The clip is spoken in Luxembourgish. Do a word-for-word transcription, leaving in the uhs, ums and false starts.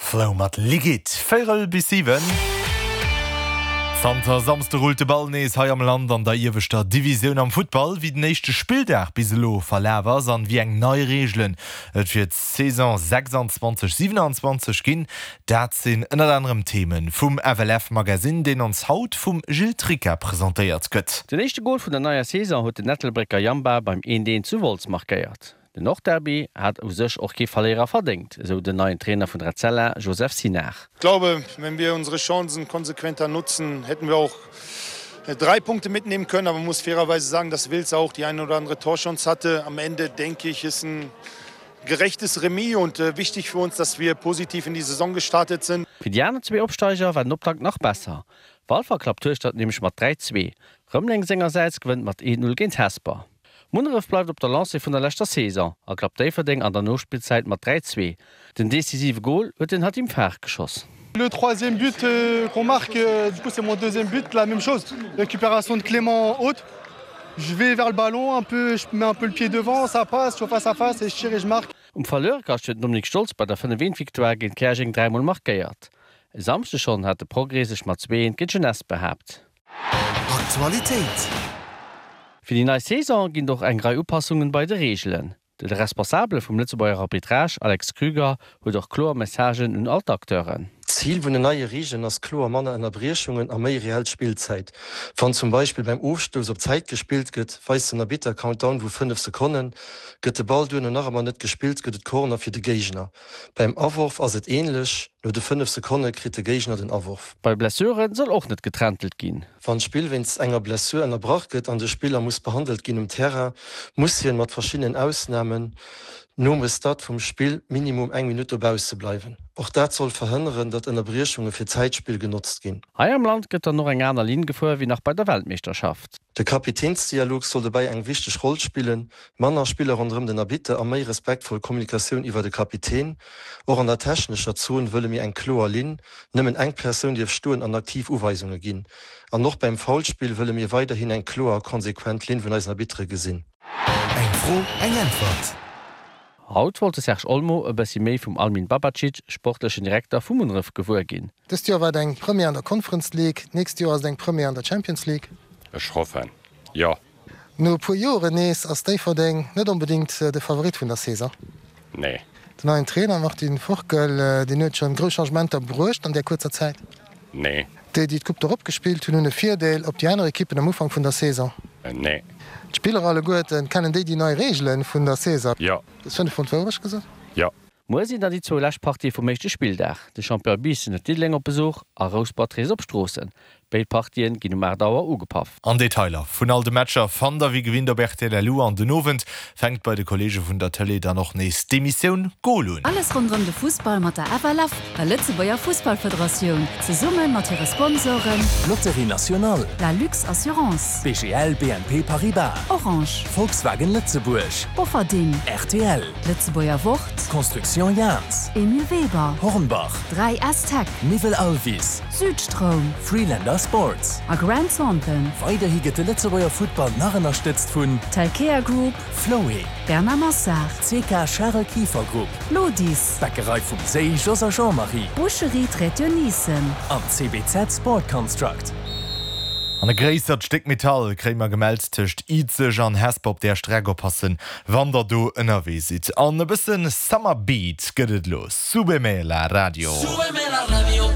Flow mat Liquid. Véierel bis siwen. Zanter Samsde rullt de Ball nees hei am Land an der ieweschter Divisioun am Futtball. Wéi den éischte Spilldag bis elo verlaf ass an wéi eng nei Reegelen et fir d'Saison sechsanzwanzeg siewenanzwanzeg ginn, dat sinn ënnert anerem Themen vum F L F Magazine, deen ons haut vum Gilles Tricca presentéiert gëtt. Den éischte Gol vun der neier Saison huet den Ettelbrécker Jamba beim eent eent zu Wolz markéiert. Den Nordderby hat u sech och kee Verléierer verdéngt, esou den neien Trainer vun Etzella, Joseph Sinar. Ich glaube, wenn wir unsere Chancen konsequenter nutzen, hätten wir auch drei Punkte mitnehmen können. Aber man muss fairerweise sagen, dass Wiltz auch die eine oder andere Torchance hatte. Am Ende, denke ich, ist ein gerechtes Remis und äh, wichtig für uns, dass wir positiv in die Saison gestartet sind. Fir déi aner zwee Opsteiger war den Optakt nach besser. Walfer klappt Hueschtert nämlech mat dräi zwee. Rëmeleng sengersäits gewënnt mat eent null géint Hesper. Munneref bleift op der Lancée vun der leschter Saison a klappt Déifferdeng an der Nospillzäit mat dräi zwee. Den decisive Gol huet den Hatim Far geschoss. Le troisième but euh, qu'on marque, euh, du coup c'est mon deuxième but, la même chose. Récupération de Clément haute. Je vais vers le ballon, un peu, je mets un peu le pied devant, ça passe, je suis face à face et je tire et je marque. Um Verluerkascht huet den Dominik Stolz bei der fënnef eent Victoire géint Käerjeng dräimol markéiert. E Samschdeg schonn hat de Progrès sech mat zwee eent géint d'Jeunesse behaapt. Aktualitéit. Fir déi nei Saison ginn et och eng Rei Upassungen bei de Reegelen. De Responsabele vum Lëtzebuerger Arbitrage, Alex Krüger, huet och kloer Messagen un all d'Acteuren. D'Zil vun den neie Reegelen ass kloer manner Ënnerbriechungen a méi reell Spillzäit. Wann zum Beispill beim Ofstouss op Zäit gespillt gëtt, weist den Arbitter Countdown vu fënnef Sekonnen, gëtt de Ball duerno nach ëmmer net gespillt, gëtt et Corner fir de Géigner. Beim Aworf ass et änlech, no de fënnef Sekonne kritt de Géigner den Aworf. Bei Blessuren soll och net getrëntelt ginn. Wann d'Spill wéinst enger Blessur ënnerbrach gëtt an de Spiller muss behandelt ginn um Terrain, muss hien, mat verschiddenen Ausnamen, nom Restart vum Spill minimum eng Minutt dobausse bleiwen. Och dat soll verhënneren, datt Ënnerbriechunge fir Zäitspill genotzt ginn. Hei am Land gëtt dann och eng aner Linn gefuer wéi nach bei der Weltmeeschterschaft. De Kapitänsdialog soll dobäi eng wichteg Roll spillen, manner Spiller ronderëm den Arbitter a méi respektvoll Kommunikatioun iwwer de Kapitän. Och an der technescher Zon wëlle mir eng kloer Linn, nëmmen eng Persoun dierf stoen an aktiv Uweisunge ginn. An och beim Foulspill wëlle mir weiderhin eng kloer a konsequent Linn vun eisen Arbittere gesinn. Eng Fro, eng Äntwert. Haut wollt de Serge Olmo e bëssi méi vum Almin Babacic, sportlechen Direkter vu Munneref, gewuer ginn. Dëst Joer war et eng Première an der Conference League, d'nächst Joer ass et eng Première an der Champions League. Ech hoffen, jo. No e puer Joren nees ass Déifferdeng net onbedéngt de Favorit vun der Saison. Nee. Den neien Trainer Martin Forkel, deen huet schonn grouss Changementer bruecht an där kuerzer Zäit. Nee. Déi, déi d'Coupe d'Europe gespillt hunn, hunn e Virdeel op déi aner Ekippen am Ufank vun der Saison. Nee. D'Spiller alleguerten, kennen déi déi nei Reegele vun der Saison? Jo. Hues fënnef Pond Wourecht gesot? Jo. Muer sinn dann déi zwou lescht Partië vum éischte Spilldag. De Champion Biissen huet Diddeleng op Besuch a Rouspert reest op Stroossen. Béid Partien ginn um aacht Auer ugepaff. An Detailer vun all de Matcher fannt der wéi gewinnt op R T L L U an den Owend fänkt bei de Kolleege vun der Tëlee dann och nees d'Emissioun Goal un. Alles ronderëm de Fussball mat der F L F, der Lëtzebuerger Fussballfederatioun, zesumme mat hire Sponsoren Loterie Nationale, La Lux Assurance, B G L B N P Paribas, Orange, Volkswagen Lëtzebuerg, Bofferding, R T L, Lëtzebuerger Wort, Construction Jans, Emile Weber, Hornbach, dräi S Tech, Niwel Alvis, Südstroum Freelander Sports a Grant Thornton. Weiderhi gëtt de Lëtzebuerger Futtball nach ënnerstëtzt vun Telkea Group, Floé, Bernard Massard, C K Charel Kieffer Group, Lodis, Bäckerei vum Séi Jos a Jean-Marie Boucherie Traiteur Nissen an C B Z Sport Construct. An e gréissert Stéck Metall kréie mer gemellt tëscht Izeg an Hesper op der Streck, oppassen, wann der do ënnerwee sidd. An e bëssen Summer Beat gëtt et elo. Súbeme la radio. Súbeme la radio.